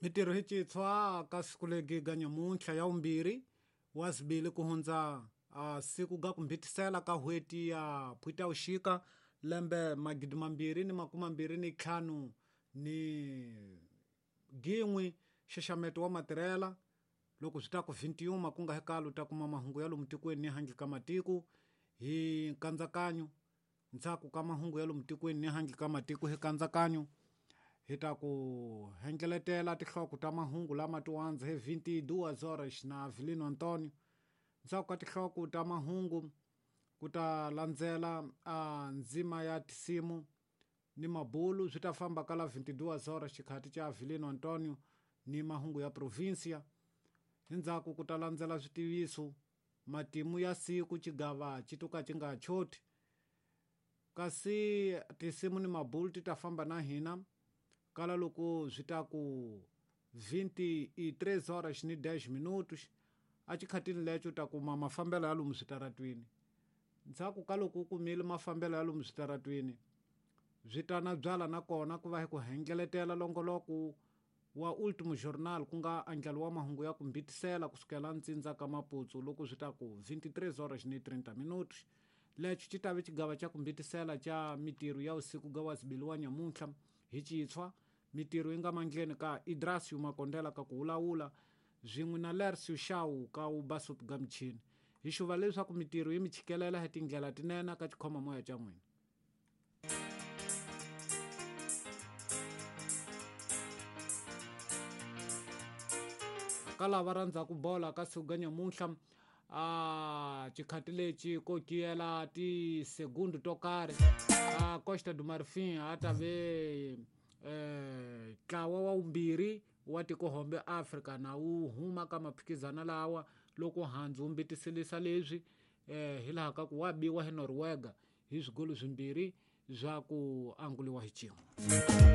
Mitirho hi citshwa ka siku legi ga nyamuntlha ya vumbirhi wa zibili ku hundza siku ga ku mbhitisela ka n'hweti ya Phutavuxika lembe 2025 ni gin'we xaxameto wa matirhela loko swi ta ku 21 ku nga hekalo ta kuma mahungu ya lomu tikweni ni handle ka matiko hi nkandzakanyo ndzhaku ka mahungu ya lomu tikweni ni handle ka matiko hi nkandzakanyo hi ta ku hengeletela tinhloko ta mahungu lama tiwandza hi 22 horas na Avelino Antonio ndzhaku ka tinhloko ta mahungu ku ta landzela ndzima ya tisimu ni mabulu swi ta famba kala 22 horas xikhati cha Avelino Antonio ni mahungu ya provincia endzhaku ku ta landzela switiviso matimu ya siku xigava xi to ka xi nga choti kasi tinsimu ni mabulu ti ta famba na hina kala loko swi ta ku 23 horas ni 10 minutos a xikhatini lexo u ta kuma mafambelo ya lomu switaratwini ndzhaku ka loko u kumile mafambelo ya lomu switaratwini swi ta na byala nakona ku va hi ku hengeletela longoloko wa Ultimo Journal ku nga andlalo wa mahungu ya ku mbitisela kusukela ntsindza ka Maputsu loko swi ta ku 23 horas ni 30 minutos lexo xi ta ve xigava xa ku mbitisela xa mitirho ya usiku ga wa zibili wa nyamuntlha hi citshwa mitirho yi nga mandleni ka Idrasio Makondela ka ku wulawula swin'we na Lercio Shaw ka wu basup ga michini hi xuva leswaku mitirho yi mi chikelela hi tindlela tinene ka xikhomamoya xa n'wina. Ka lava rhandzaku bola ka siku ga nyamuntlha xikhati lexi ko kiyela tisegundu to karhi a Costa do Marfin a ta ve ntlawa wa vumbirhi wa tikohombe Afrika na wu huma ka maphikizana lawa loko handzu wu mbitiselisa leswi hi laha ka ku wa biwa hi Norwega hi swigolo swimbirhi swa ku anguliwa hi xin'we.